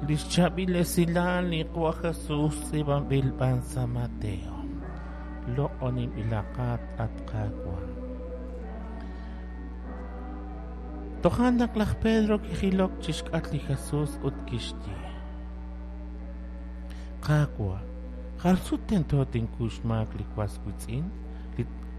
Li xchaab'il esilal li Qaawa' Jesus tz'iib'anb'il b'an sa' Mateo. Loq'oninb'ilaqat, at Qaawa'. Toja' naq laj Pedro kijilok chi xk'atq li Jesus ut kixye: Qaawa', jar sut tento tinkuy xmaak li was wiitz'in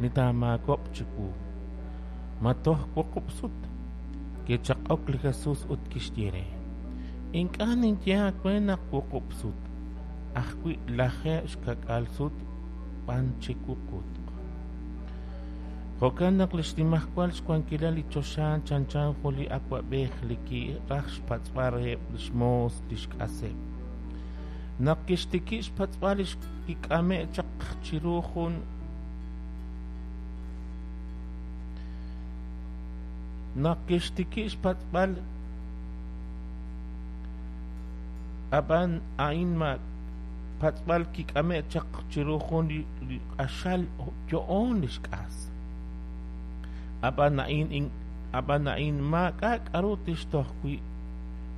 li taamaakob'q chiwu? Ma toj wuqub' sut? Kichaq'ok li Jesus ut kixye re: Ink'a' ninye aawe naq wuqub' sut, ajwi' 70 sut b'an chi wuqutq. Jo'kan naq li xnimajwal xwankilal li choxa chanchan jun li awab'ej li kiraj xpatz'b'al reheb' li xmoos li xk'aseb'. Naq kixtikib' xpatz'b'al li kik'ame'k chaq chiru jun Naq kixtikib' xpatz'b'al, ab'an a'in ma patz'b'al kik'ame'k chaq chiru jun li q'axal yo'oon li xk'as. Ab'an a'in ab'an a'in maak'a' k'aru tixtoj wi'.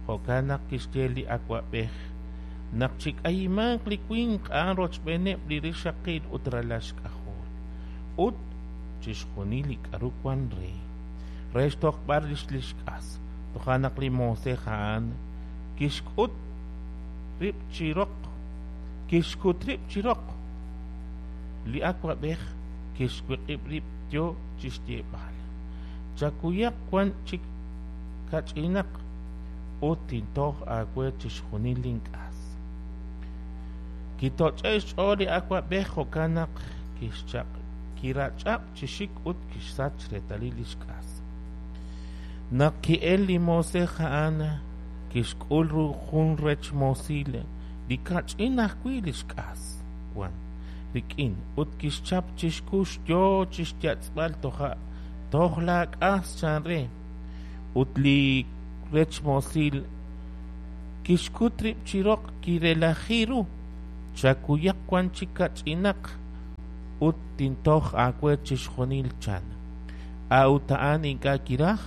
Jo'kan naq kixye li awab'ej naq chik'ayimanq li winq a'an rochb'eeneb' li rixaqil ut ralal xk'ajol, ut chixjunil li k'aru wank re, re xtojb'al rix li xk'as. Toja' naq li moosej a'an kixk'ut rib' chi roq, kixkut rib' chi roq li awab'ej, kixwiq'ib' rib' yo chi xyeeb'al: Chakuyaq wan chik kach'inaq ut tintoj aawe chixjunil link'as. Kitoch'e'k xch'ool li awab'ej, jo'kan naq kirach'ab' chi xik ut kixsach reetalil li xk'as. Naq ki'elk li moosej a'an, kixk'ul ru jun rech moosil li kach'in ajwi' li xk'as wank rik'in ut kixchap chi xkux yo chi xyatz'b'al toja' toj laak'as chan re. Ut li rech moosil kixkut rib' chi roq kirelaji ru: Chakuyaq wan chik kach'inaq ut tintoj aawe chixjunil, chan. A'ut a'an ink'a' kiraj,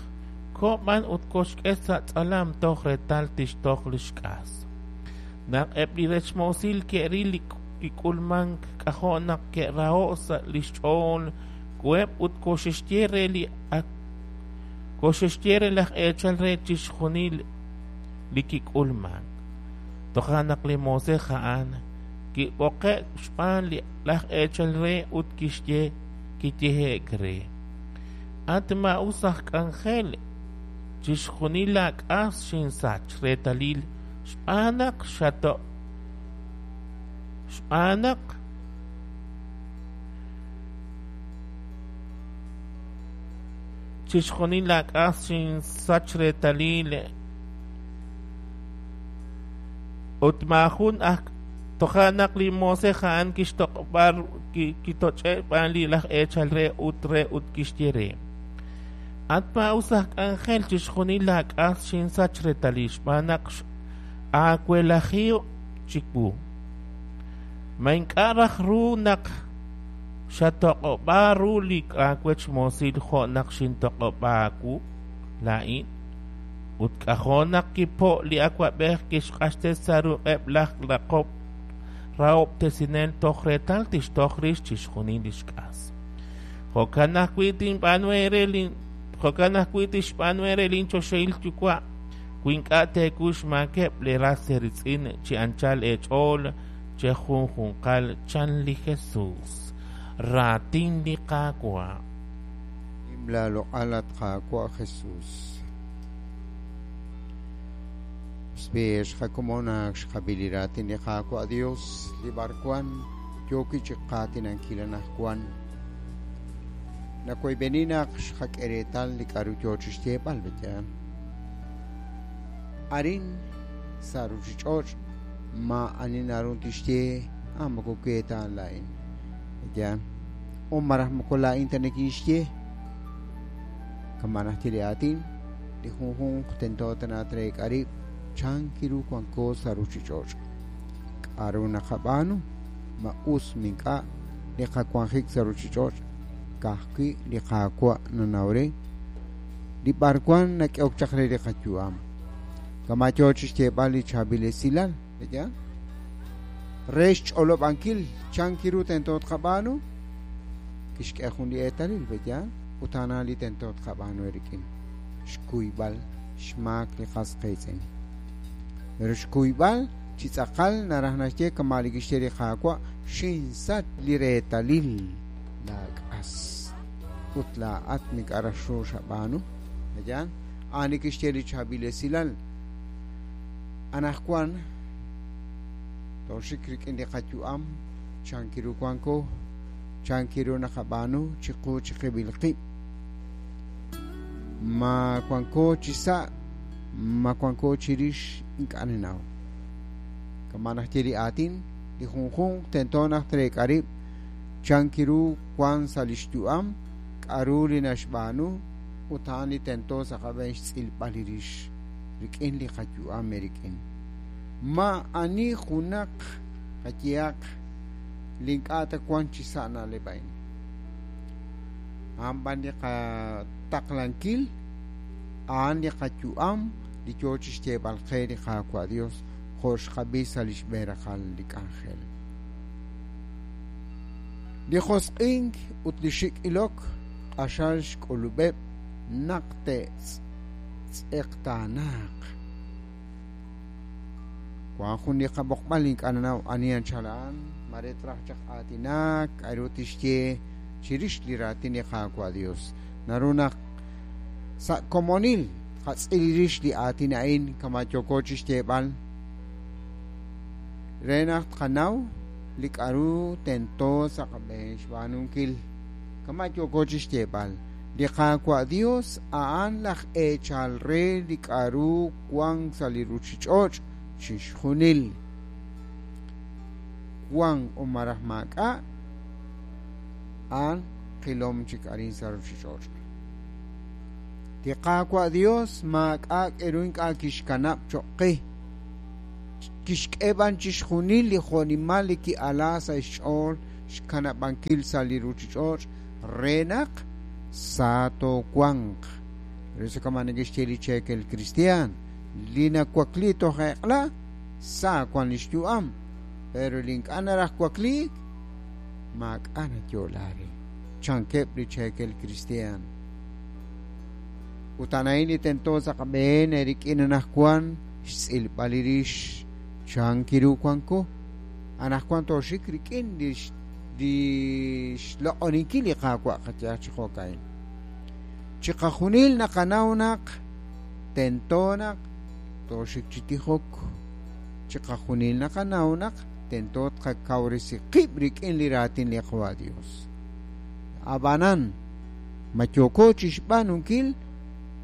koho b'an ut koxk'e sa' tz'alam toj reetal tixtoj li xk'as. Naq eb' li rech moosil ke'ril li kik'ulmank, k'ajo' naq ke'raho'k sa' li xch'ool, koheb' ut koxe'xye re li koxe'xye re laj eechal re chixjunil li kik'ulmank. Toja' naq li moosej a'an kib'oqe'k xb'aan laj eechal re ut kixye kiyehe'k re: At maa'us aj k'anjel, chixjunil laak'as xinsach reetalil xb'aan naq xato' xb'aan naq chixjunil laak'as xinsach reetalil ut maajun aj Toja' naq li moosej a'an kixtoq'ob'a kitoch'e'k xb'aan li laj eechal re ut re ut kixye re: At maa'us aj k'anjel, chixjunil laak'as xinsach reetalil xb'aan naq aawelaji chiwu. Ma ink'a' raj ru naq xatoq'ob'a ru li aawech moosil jo' naq xintoq'ob'a aawu laa'in? Ut k'ajo' naq kipo' li awab'ej kixq'axtes sa' ruq'eb' laj rahob'tesinel toj reetal tixtoj rix chixjunil li xk'as. Jo'kan ajwi' tinb'aanu eere jo'kan ajwi' tixb'aanu eere linchoxahil Yuwa' wi ink'a' teekuy xmaakeb' leeras eeriitz'in chi anchal eech'ool chejunjunqal, chan li Jesus. Raatin li Qaawa'. Nim laaloq'al, at Qaawa' Jesus. Xb'een xqakomon ak xqab'i li raatin li Qaawa' Dios li b'arwan yooki chi qaatinankil anaqwan. Nawoyb'eni naq xqak'e reetal li k'a'ru yoo chixyeeb'al, pe'yaal? Arin sa' ruchich'och' maa'ani naru tixye, Ah, moko we ta laa'in. Pe'yaal? O malaj moko laa'in ta nikinxye. Kama' naxye li aatin, li junjunq tento tana treek'a rib' chan ru wanko sa' ruchich'och'. K'a'ru naqab'aanu? Ma us ma ink'a' li qawanjik sa' ruchich'och'? Ka'ajwi' li Qaawa' nanaw re li b'arwan nak'ehok chaq re li qayu'am. Kama' yo chi xyeeb'al li chaab'il esilal, pe'yaal? Re xch'olob'ankil chan ru tento tqab'aanu, kixk'e jun li eetalil, pe'yaal? Ut a'an li tento tqab'aanu eerik'in, xkuyb'al xmaak li qas qiitz'in. Pero xkuyb'al chi tz'aqal naraj naxye kama' li kixye li Qaawa', xinsach li reetalil laak'as ut laa'at ink'a' raj ru xab'aanu, pe'yaal? A'an li kixye li chaab'il esilal. Anaqwan tooxik rik'in li qayu'am, chan ru wanko, chan ru naqab'aanu chiqu chiqib'il qib'. Ma wanko chi sa', ma wanko chirix ink'a' nanaw. Kama' naxye li aatin, li junjunq tento naq treek'a rib' chan ru wan sa' li xyu'am, k'aru li naxb'aanu ut a'an li tento sa' qab'een xtz'ilb'al li rix rik'in li qayu'am eerik'in. Ma ani junaq qayehaq li ink'a' ta wan chi sa' na'leb' a'in. A'an b'an li qataqlankil, a'an li qayu'am li yo chi xyeeb'al qe li Qaawa' Dios jo' xqab'i sa' li xb'een raqal li k'anjel. Li josq'ink ut li xik' ilok q'axal xk'ulub'eb' naq te'tz'eqtaanaaq. Wan jun li qab'oqb'al ink'a' nanaw ani anchal a'an, mare traj chaq aatinak, k'aru tixye chirix li raatin li Qaawa' Dios. Naru naq sa' komonil tqatz'il rix li aatin a'in kama' yooko chi xyeeb'al re naq tqanaw li k'aru tento sa' qab'een xb'aanunkil. Kama' yooko chi xyeeb'al, li Qaawa' Dios a'an laj eechal re li k'aru wank sa' li ruuchich'och' chixjunil. Wank o malaj maak'a', a'an qilom chik arin sa' ruuchich'och'. Li Qaawa' Dios maak'a' k'eru ink'a' kixkanab' cho'q qe. Kixk'e b'an chixjunil li jo'nimal li ki'ala sa' xch'ool xkanab'ankil sa' li ruuchich'och' re naq sa toowanq. Re sa kama' neke'xye li cheekel kristiaan, li nawakli toj eq'la sa wan li xyu'am, pero li ink'a' naraj wakliik maak'a' nayo'la re, chankeb' li cheekel kristiaan. Ut a'an a'in li tento sa' qab'een eerik'in anaqwan xtz'ilb'al li rix chan ru wanko. Anaqwan tooxik rik'in li xloq'oninkil li Qaawa' qayehaq chi jo'ka'in. Chiqajunil naqanaw naq tento naq tooxik chi tijok. Chiqajunil naqanaw naq tento tqakawresi qib' rik'in li raatin li Qaawa' Dios. Ab'anan, ma yooko chi xb'aanunkil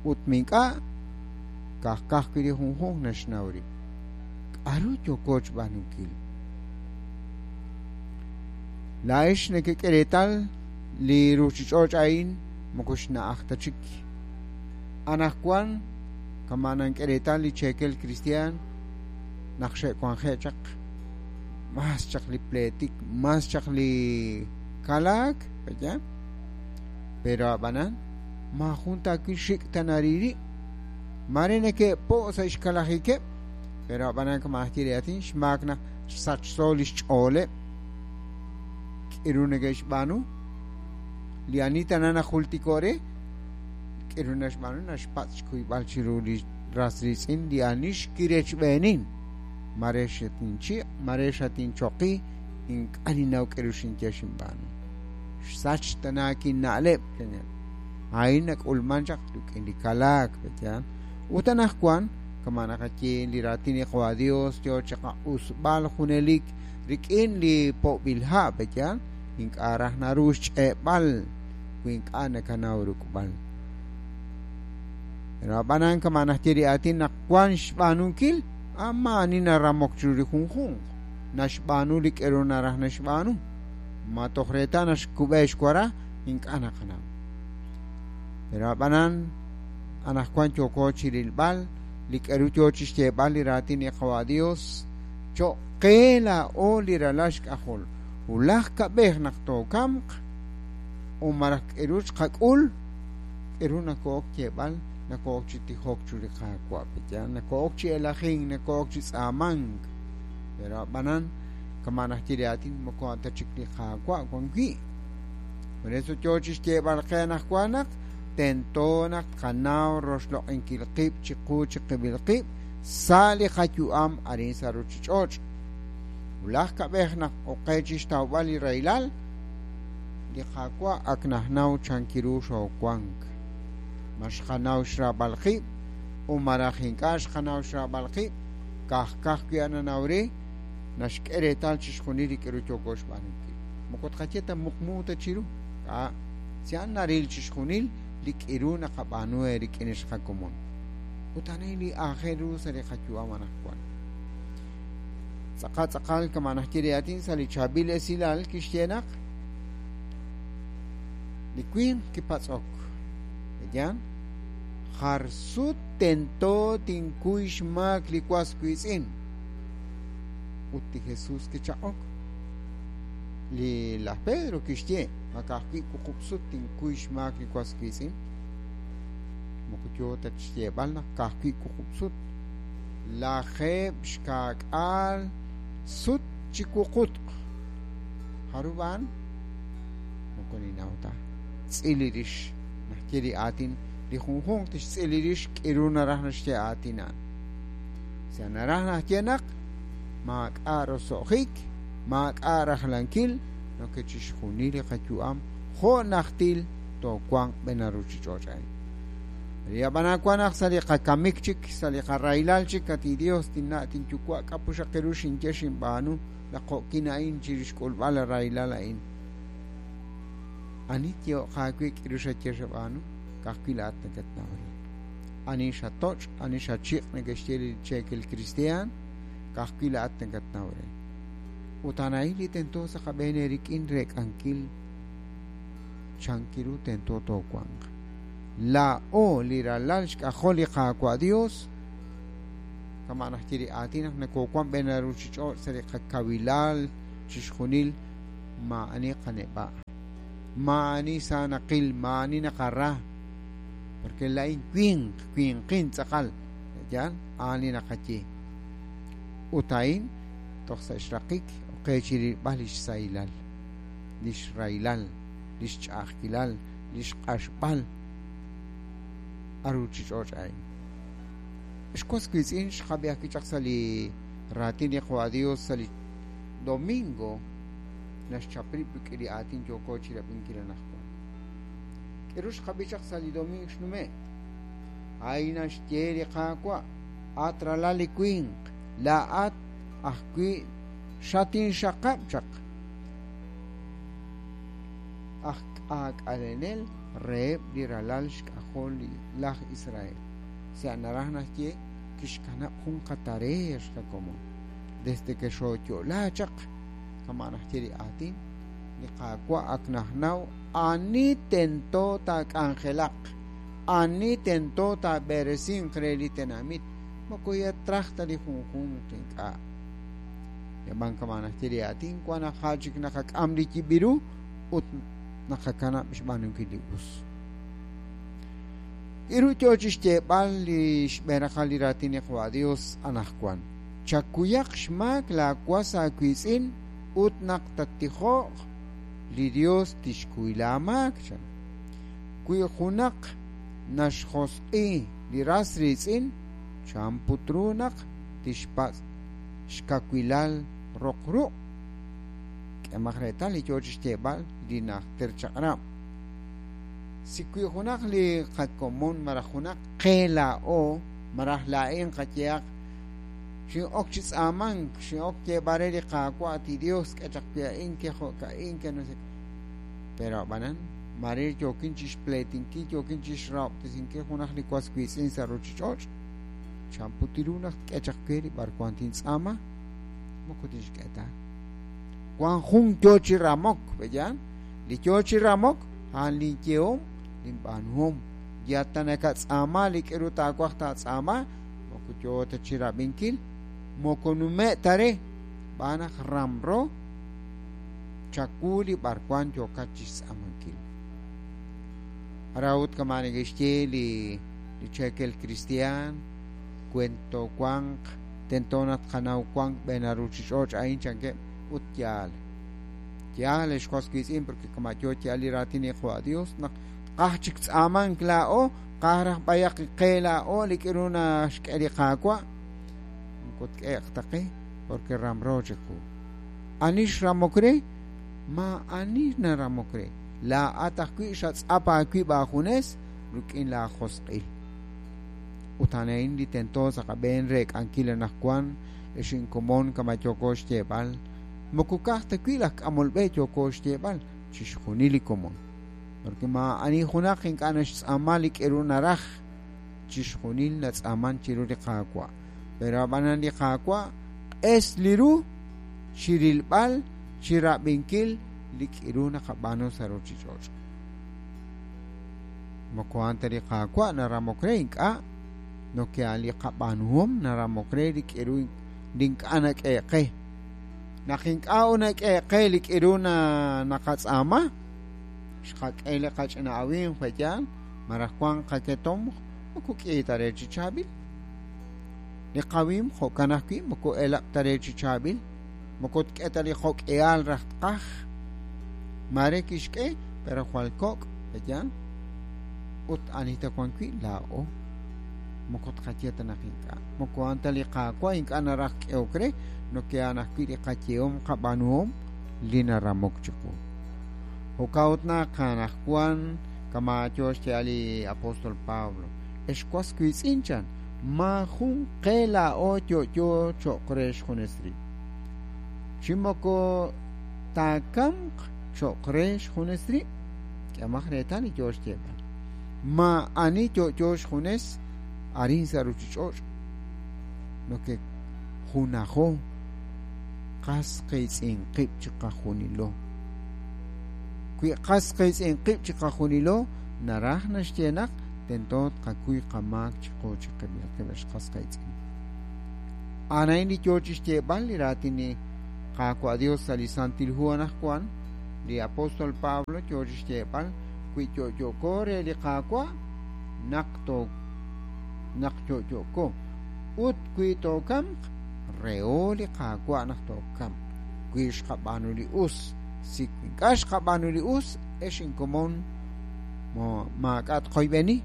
ut mink'a' kajkaj wi' li junjunq naxnaw rib'. K'aru yooko xb'aanunkil? Laa'ex nekek'e reetal li ruuchich'och' a'in moko xna'aj ta chik. Anaqwan kama' nank'e reetal li cheekel kristiaan naq xe'wanje' chaq mas chaq li pleetik, mas chaq li kalaak, pe'yaal? Pero ab'anan maajun taawil xik' ta nariri'. Mare neke'po' sa' xkalajikeb', pero ab'anan kama' aj ye li aatin xmaak naq xsachso li xch'ooleb'. K'eru neke'xb'aanu? Li ani tana najultiko' re, k'eru naxb'aanu naxpatz' xkuyb'al chiru li ras riitz'in li ani xkirechb'eenin. Mare xatinchiq', mare xatinchoqi, ink'a' ninnaw k'eru xinye xinb'aanu. Xsach tana kinna'leb', chaneb'. A'in nak'ulman chaq rik'in li kalaak, pe'yaal? Ut anaqwan kama' naqaye li raatin li Qaawa' Dios yo chiqaq'usb'al junelik rik'in li po'b'il ha', pe'yaal? Ink'a' raj naru xch'e'b'al wi ink'a' nakanaw ruk'b'al. Pero ab'anan kama' naxye li aatin naq wan xb'aanunkil, maa'ani naramok chiru li junjunq. Naxb'aanu li k'eru naraj naxb'aanu. Ma toj reetal naxkub'e xwara, ink'a' naqanaw. Pero ab'anan anaqwan yooko chi rilb'al li k'eru yo chi xyeeb'al li raatin li Qaawa' Dios cho'q qe laa'o li ralal xk'ajol. Wulaj kab'ej naq tookamq o malaj k'eru xqak'ul, k'eru nako'ok yeeb'al Nokoo'ok chi tijok chiru li Qaawa', pe'yaal? Nokoo'ok chi elajink, nokoo'ok chi tz'aamank. Pero a'b'anan, kama' naxye li aatin, moko a'an ta chik li Qaawa' wan wi'. Por eso yoo chixyeeb'al qe anaqwan naq tento naq tqanaw roxloq'inkil qib' chiqu chiqib'il qib' sa' li qayu'am arin sa' ruchich'och'. Wulaj kab'ej naq oqe chixtawb'al li rahilal, li Qaawa' ak najnaw chankiru xoowank. Ma xqanaw xraab'al qib' o malaj ink'a' xqanaw xraab'al qib', ka'aj wi' a'an nanaw re, naxk'e reetal chixjunil li k'aru yooko xb'aanunkil. Moko tqaye ta muqmu ta chiru, k'a' si a'an naril chixjunil li k'iru naqab'aanu eerik'in ex qakomon. Ut a'an li aajel ru sa' li qayu'am anaqwan. Tz'aqal tz'aqal kama' naxye li aatin sa' li chaab'il esilal kixye naq li winq kipatz'ok. Yaal, jar sut tento tinkuy xmaak li was wiitz'in. Ut li Jesús kichaq'ok. Li laj Pedro kixye, ma ka'ajwi' wuqub' sut tinkuy xmaak li was wiitz'in? Moko yoo ta xyeeb'al naq ka'ajwi' wuqub' sut. 70 sut chi wuqutq. Jarub' a'an? Moko ninnaw ta. Tz'il li rix. Naxye li aatin li junjunq tixtz'il li rix k'iru naraj naxye aatin a'an. Sa naraj naxye naq maak'a' roso'jik, maak'a' rajlankil, noke chixjunil li qayu'am jo' najtil toowanq b'en ruchich'och' a'in. Ri ab'anan wan naq sa' li qakamik chik, sa' li qarahilal chik, at Dios, tinna' tinyuwa' k'apuxaqiru xinye xinb'aanu laqo'kin a'in chirix xk'ulb'al li rahilal a'in. Ani tyeehoq aawe k'iru xaye xab'aanu, ka'ajwi' laa'at nakatnaw re. Ani xatoch', ani xachiq' neke'xye li cheekel kristiaan, ka'ajwi' laa'at nakatnaw re. Ut a'an a'in li tento sa' qab'een eerik'in reek'ankil chankiru tento toowanq. Laa'o li ralal xk'ajol li Qaawa' Dios, kama' naxye li aatin naq nokoowank b'een ruchich'och' sa' li qakawilal chixjunil, maa'ani qaneb'a', maa'ani sa naqil, maa'ani naqara, porque laa'in winq, winqin tz'aqal, yaal, a'an li naqaye. Ut a'in toj sa' xraqik oqe chi rilb'al li xsahilal, li xrahilal, li xch'a'ajkilal, li xq'axb'al aruchich'och' a'in. Xwas wiitz'in xqab'i ajwi' chaq sa' li raatin li Qaawa' Dios sa' li domingo naxchap rib' rik'in li aatin yooko chirab'inkil anaqwan. K'iru xqab'i chaq sa' li domingo xnume'. A'in naxye li Qaawa', at ralal li winq, laa'at ajwi' xatinxaqab' chaq aj k'aak'alenel reheb' li ralal xk'ajol laj Israel. Sa' naraj naxye kixkanab' jun qatareex qakomon. Desde que xooyo'la chaq, kama' naxye li aatin, li Qaawa' ak najnaw ani tento taak'anjelaq, ani tento taab'eresinq re li tenamit, moko yatraj ta li junjunq ink'a'. Yab'an kama' naxye li aatin, wan naq ja chik naqak'am li yib'iru ut naqakanab' xb'aanunkil li us. K'iru yoo chixyeeb'al li xb'een raqal li raatin li Qaawa' Dios anaqwan. Chakuyaq xmaak laawas aawiitz'in ut naq tattijo'q li Dios tixkuy laamaak chan. Wi junaq naxjosq'i li ras riitz'in, chan put ru naq tixpatz' xkawilal roq ruq'. K'emaq reetal li yoo chixyeeb'al li najter chaq'rab'. Si wi junaq li qakomon malaj junaq qe laa'o malaj laa'in qayehaq xin'ok chi tz'aamank, xin'ok yeeb'al re li Qaawa' ti Dios k'e chaq wi a'in ke jo'ka'in ke no sé. Pero ab'anan mare yookin chixpleetinkil, yookin chixrahob'tesinkil junaq li was wiitz'in sa' ruchich'och', chan put ru naq tk'e chaq we li b'arwan tintz'aama, moko tixk'e ta. Wan jun yoo chi ramok, pe'yaal? Li yoo chi ramok, a'an linyehom, linb'aanuhom. Ya ta nakatz'aama li k'iru taawaj taatz'aama, moko yoo ta chirab'inkil, moko nume' ta re, xb'aan naq ramro chawu li b'arwan yookat chixtz'aamankil. Arawut kama neke'xye li li cheekel kristiaan cuento wanq tento naq tqanaw wank b'een a ruuchich'och' a'in chankeb' ut yaal yaal ex was wiitz'in porque kama' yo yaal li raatin li Qaawa' Dios naq qaj chik tz'aamank laa'o qaj raj b'ayaq qe laa'o li k'iru naxk'e li Qaawa' moko tk'eeq ta qe porque ramro chiqu ani xramok re ma ani naramok re laa'at ajwi' xatz'ap aawib' aajunes rik'in laajosq'il ut a'in li tento sa' qab'een re k'ankil anaqwan ex inkomon kama' yooko xyeeb'al moko ka'aj ta wi' laj k'amol b'e yooko xyeeb'al chixjunil li komon porque ma ani junaq ink'a' naxtz'aama li k'iru naraj chixjunil natz'aaman chiru li Qaawa' pero ab'anan li Qaawa' q'es li ru chirilb'al chirab'inkil li k'iru naqab'aanu sa' ruuchich'och' moko a'an ta li Qaawa' naramok re ink'a' noke a'an li qab'aanuhom naramok re li k'iru li ink'a' nak'e qe naq ink'a' nak'e qe li k'iru naqatz'aama xqak'e li qach'ina awimq pe'yaal maraj wank qaketomq moko k'i ta re chi chaab'il li qawimq jo'kan ajwi' moko elab' ta re chi chaab'il moko tk'e ta li jo'k'ihal raj tqaj mare kixk'e pero jwal kok' pe'yaal ut ani ta wan wi' laa'o moko tqaye ta naq ink'a' moko a'an ta li Qaawa' ink'a' naraj k'ehok re noke a'an ajwi' li qayehom qab'aanuhom li naramok chiqu jo'kan ut naq anaqwan kama' yo xyeeb'al li apóstol Pablo ex was wiitz'in chan maajun qe laa'o yo'yo cho'q re xjunes rib' chi moko taakamq cho'q re xjunes rib' k'ehomaq reetal li yo xyeeb'al ma ani yo'yo xjunes arin sa' ruuchich'och' noke junajo qas qiitz'in qib' chiqajunilo wi qas qiitz'in qib' chiqajunilo naraj naxye naq tento tqakuy qamaak chiqu chiqib'il qib' ex qas qiitz'in a'an a'in li yo chixyeeb'al li raatin li Qaawa' Dios sa' li Santil Hu anaqwan li apóstol Pablo yo chixyeeb'al wi yo'yo'ko re li Qaawa' naq to naq yo'yo'ko ut wi tookamq reho li Qaawa' naq tookamq wi xqab'aanu li us si ink'a' xqab'aanu li us ex inkomon maak'a' tqoyb'eni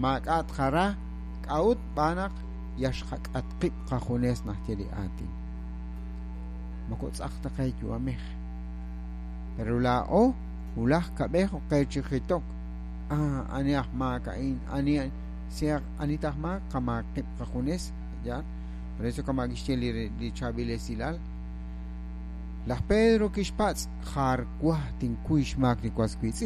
maak'a' tqara k'a'ut b'aan naq yal xqak'at qib' qajunes naxye li aatin moko tz'aq ta qe yu'amej pero laa'o wulaj kab'ej qe chi jitok ani aj maak a'in ani si ani taj maak qamaak qib' qajunes ya por eso kama' kixye li chaab'il esilal laj Pedro kixpatz' jar waj tinkuy xmaak li was wiitz'in.